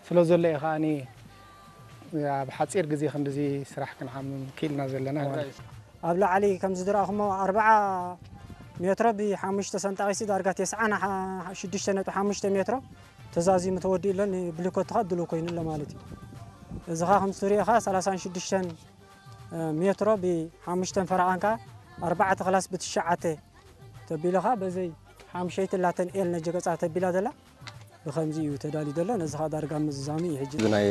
ስለ ዘሎ እዩ ከዓኒ ኣብ ሓፂር ግዜ ክንድዚ ስራሕ ክንዓምም ክኢልና ዘለና ማለት እዩ። ኣብ ላዕሊ ከም ዝድረእኹሞ ኣርብዓ ሜትሮ ብሓሙሽተ ሰንጣቒሲ ዳርጋ ተስዓን ሽዱሽተ ነጥቢ ሓሙሽተ ሜትሮ ተዛዚሙ ተወዲኡ ኣሎ። ንብሊኮት ከዓ ድሉው ኮይኑ ኣሎ ማለት እዩ። እዚ ከዓ ከም ትሪኦ ከዓ ሰላሳን ሽዱሽተን ሜትሮ ብሓሙሽተን ፈረቓን ከዓ ኣርባዕተ ክላስ ብትሽዓተ ተቢሉ ከዓ በዘይ ሓምሸይቲ ላተን ኤል ነጀ ገፃ ተቢላ ዘላ ብኸምዚ እዩ ተዳልዩ ዘሎ። ነዚ ከዓ ዳርጋ ምዝዛሙ እዩ ሕጂ። እዚ ናይ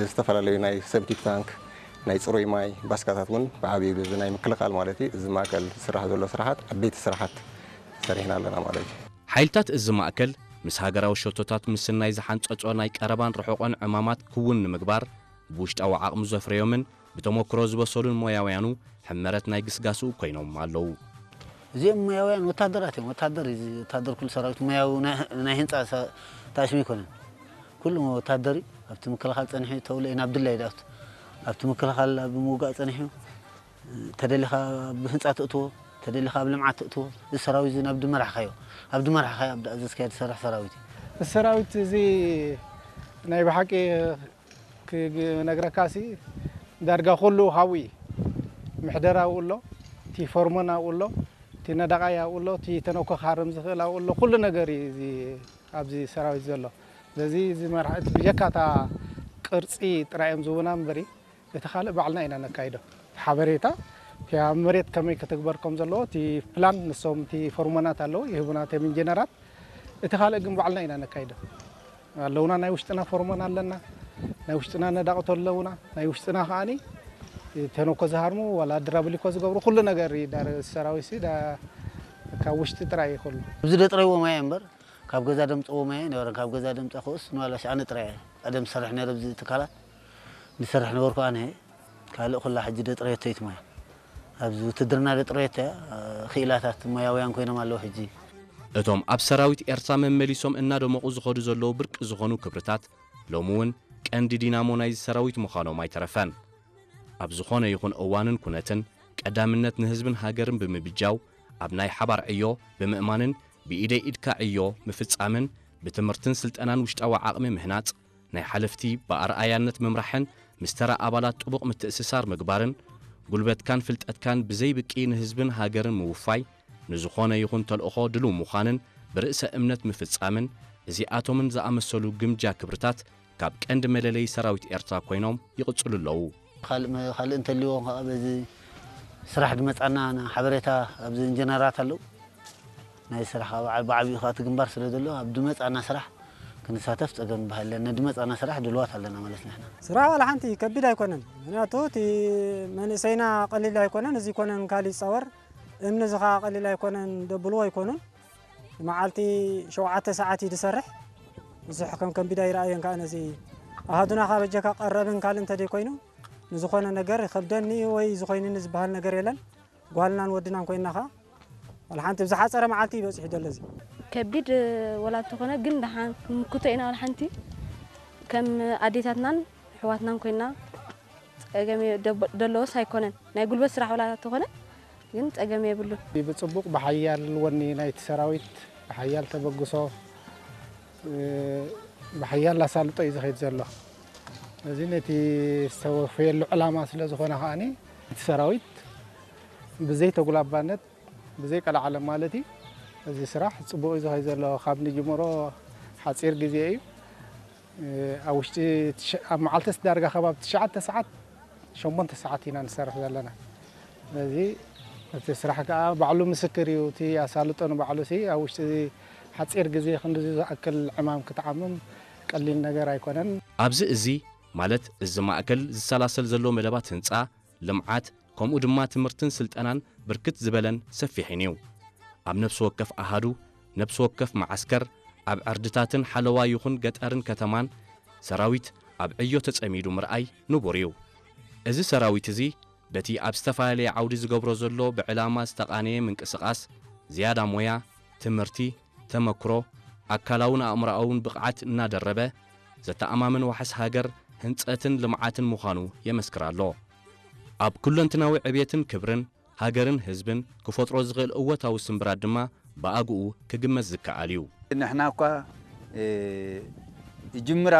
ዝተፈላለዩ ናይ ሰፕቲክ ታንክ፣ ናይ ፅሩይ ማይ ባስካታት እውን ብዓብዩ እዚ ናይ ምክልኻል ማለት እዩ። እዚ ማእከል ዝስራሕ ዘሎ ስራሓት ዓበይቲ ስራሓት ሰሪሕና ኣለና ማለት እዩ። ሓይልታት እዚ ማእከል ምስ ሃገራዊ ሸቶታት ምስናይ ዝሓንጸጾ ናይ ቀረባን ርሑቕን ዕማማት ክውን ንምግባር ብውሽጣዊ ዓቕሚ ዘፍረዮምን ብተመክሮ ዝበሰሉን ሞያውያኑ ሕመረት ናይ ግስጋስኡ ኮይኖም ኣለዉ። እዚኦም ሞያውያን ወታደራት እዮም። ወታደር እዩ፣ እዚ ወታደር ኩሉ ሰራዊት ሞያዊ ናይ፣ ናይ ህንፃ ሰ-፣ ታሽሚ ኣይኮነን። ኩሉ ወታደር እዩ። ኣብቲ ምክልኻል ጸኒሑ ተውለ ናብ ድላይ ዳት ኣብቲ ምክልኻል ኣብ ምውጋእ ጸኒሑ ተደሊኻ ኣብ ህንፃ ትእትዎ፣ ተደሊኻ ኣብ ልምዓት ትእትዎ። እዚ ሰራዊት እዚ ናብ ድመራሕካዮ፣ ኣብ ድመራሕካዮ ኣብ ዝኣዘዝካዮ ዝሰርሕ ሰራዊት እዩ። እዚ ሰራዊት እዚ ናይ ብሓቂ ክነግረካሲ ዳርጋ ኩሉ ሃዊ ምሕደራ ኣብኡ ኣሎ፣ እቲ ፎርመን ኣብኡ ኣሎ፣ እቲ ነዳቓይ ኣብኡ ኣሎ፣ እቲ ተነኮ ክሃርም ዝኽእል ኣብኡ ኣሎ። ኩሉ ነገር እዩ እዚ ኣብዚ ሰራዊት ዘሎ። ስለዚ እዚ መራሒ እቲ ብጀካ እታ ቅርጺ ጥራይ እዮም ዝህቡና እምበሪ እቲ ካልእ ባዕልና ኢና ነካይዶ። ሓበሬታ እቲ ኣብ መሬት ከመይ ክትግበር ከም ዘለዎ እቲ ፕላን ንሶም እቲ ፎርመናት ኣለዉ ይህቡና እቶም ኢንጂነራት። እቲ ካልእ ግን ባዕልና ኢና ነካይዶ። ኣለውና ናይ ውሽጥና ፎርመን ኣለና። ናይ ውሽጥና ነዳቕቶ ኣለውና። ናይ ውሽጥና ከዓኒ ተነኮ ዝሃርሙ ዋላ ድራብሊኮ ዝገብሩ ኩሉ ነገር እዩ። ዳር ሰራዊት ሲ ዳ-፣ ካብ ውሽጢ ጥራይ እዩ ኩሉ። ኣብዚ ደጥረይዎ ማይ እምበር ካብ ገዛ ደምፅዎ ማይ ነበረ። ካብ ገዛ ደምፃ ክኡስ ንባላሽ ኣነ ጥራይ እየ ቀደም ዝሰርሕ ነይረ ኣብዚ ትካላት። ዝሰርሕ ነበርኩ ኣነ። ካልእ ኩላ ሕጂ ደጥረየቶ እዩ እቲ ማይ። ኣብዚ ውትድርና ደጥረየቶ እያ። ክኢላታት ሞያውያን ኮይኖም ኣለዉ ሕጂ። እቶም ኣብ ሰራዊት ኤርትራ መመሊሶም እናደመቑ ዝኸዱ ዘለዉ ብርቂ ዝኾኑ ክብርታት፣ ሎሚ እውን ቀንዲ ዲናሞ ናይዚ ሰራዊት ምዃኖም ኣይተረፈን። ኣብ ዝኾነ ይኹን እዋንን ኩነትን፣ ቀዳምነት ንህዝብን ሃገርን ብምብጃው፣ ኣብ ናይ ሓባር ዕዮ ብምእማንን ብኢደይ ኢድካ ዕዮ ምፍጻምን፣ ብትምህርትን ስልጠናን ውሽጣዊ ዓቕሚ ምህናጽ፣ ናይ ሓለፍቲ ብኣርኣያነት ምምራሕን ምስ ተራ ኣባላት ጥቡቕ ምትእስሳር ምግባርን፣ ጉልበትካን ፍልጠትካን ብዘይብቂ ንህዝብን ሃገርን ምውፋይ፣ ንዝኾነ ይኹን ተልእኾ ድሉው ምዃንን ብርእሰ እምነት ምፍጻምን፣ እዚኣቶምን ዝኣመሰሉ ግምጃ ክብርታት ካብ ቀንዲ መለለዪ ሰራዊት ኤርትራ ኮይኖም ይቕጽሉ ኣለዉ። ካልእ መ-፣ ካልእ እንተልይዎም ከዓ በዚ ስራሕ ድመጻና ና-፣ ሓበሬታ ኣብዚ ኢንጂነራት ኣለዉ። ናይ ስራሕ ኣብ ዓ-፣ ብዓቢኡ ከዓ እቲ ግንባር ስለ ዘሎ ኣብ ድመጻና ስራሕ ክንሳተፍ ጸገም ይበሃል የለን። ነድመጻና ስራሕ ድልዋት ኣለና ማለት ንሕና። ስራሕ ዋላ ሓንቲ ከቢድ ኣይኮነን። ምኽንያቱ እቲ መንእሰይና ቀሊል ኣይኮነን። እዚ ይኮነን ካልእ ይጻወር። እምኒ እዚ ከዓ ቀሊል ኣይኮነን። ደብልዎ ኣይኮኑን። መዓልቲ ሸውዓተ ሰዓት እዩ ዝሰርሕ። ብዙሕ ከም ከቢድ ኣይረኣየን ከዓ ነዚ ኣሃዱና ካብ በጀካ ቀረብን ካልእ እንተደይኮይኑ ንዝኾነ ነገር ይኸብደኒ ወይ ዝኾይኑኒ ዝበሃል ነገር የለን። ጓልናን ወድናን ኮይንና ኸዓ ዋላ ሓንቲ ብዝሓፀረ መዓልቲ ይበፅሑ ደሎ እዚ። ከቢድ ወላ እንተኾነ ግን ደሓን ንምክቶ ኢና። ዋላ ሓንቲ ከም ኣዴታትናን ኣሕዋትናን ኮይንና ጸገም የ-፣ ደብ-፣ ደለዎስ ኣይኮነን። ናይ ጉልበት ስራሕ ወላ እንተኾነ ግን ጸገም የብሉን። ብጽቡቕ ብሓያል ወኒ ናይቲ ሰራዊት፣ ብሓያል ተበግሶ፣ እ፣ ብሓያል ኣሳልጦ እዩ ዝኸይድ ዘሎ። እዚ ነቲ ዝተወፈየሉ ዕላማ ስለ ዝኾነ ከኣኒ እቲ ሰራዊት ብዘይ ተጉላባነት፣ ብዘይ ቀልዓለም ማለት እዩ፣ እዚ ስራሕ ጽቡቕ እዩ ዝኸይድ ዘሎ። ካብ ንጅምሮ ሓጺር ግዜ እዩ። እ፣ ኣብ ውሽጢ ትሽ-፣ ኣብ መዓልትስ ዳርጋ ከባቢ ትሽዓተ ሰዓት፣ ሸሞንተ ሰዓት ኢና ንሰርሕ ዘለና። ስለዚ እቲ ስራሕ ከኣ ባዕሉ ምስክር እዩ። እቲ ኣሳልጦ ንባዕሉ ሲ ኣብ ውሽጢ ሓጺር ግዜ ክንድዚ ዝኣክል ዕማም ክትዓምም ቀሊል ነገር ኣይኮነን። ኣብዚ እዚ ማለት እዚ ማእከል ዝሰላሰል ዘሎ መደባት ህንጻ፣ ልምዓት፣ ከምኡ ድማ ትምህርትን ስልጠናን ብርክት ዝበለን ሰፊሕን እዩ። ኣብ ነፍሲ ወከፍ ኣሃዱ፣ ነፍሲ ወከፍ መዓስከር፣ ኣብ ዕርድታትን ሓለዋ ይኹን ገጠርን ከተማን ሰራዊት ኣብ ዕዮ ተጸሚዱ ምርኣይ ንቡር እዩ። እዚ ሰራዊት እዚ በቲ ኣብ ዝተፈላለየ ዓውዲ ዝገብሮ ዘሎ ብዕላማ ዝተቓነየ ምንቅስቓስ ዝያዳ ሞያ፣ ትምህርቲ፣ ተመክሮ፣ ኣካላውን ኣእምሮኣውን ብቕዓት እናደረበ ዘተኣማምን ዋሕስ ሃገር ህንጸትን ልምዓትን ምዃኑ የመስክር ኣሎ። ኣብ ኩለንትናዊ ዕብየትን ክብርን ሃገርን ህዝብን ክፈጥሮ ዝኽእል እወታዊ ስምብራት ድማ ብኣግኡ ክግመት ዝከኣል እዩ። ንሕና እኳ፣ እ፣ ይጅምር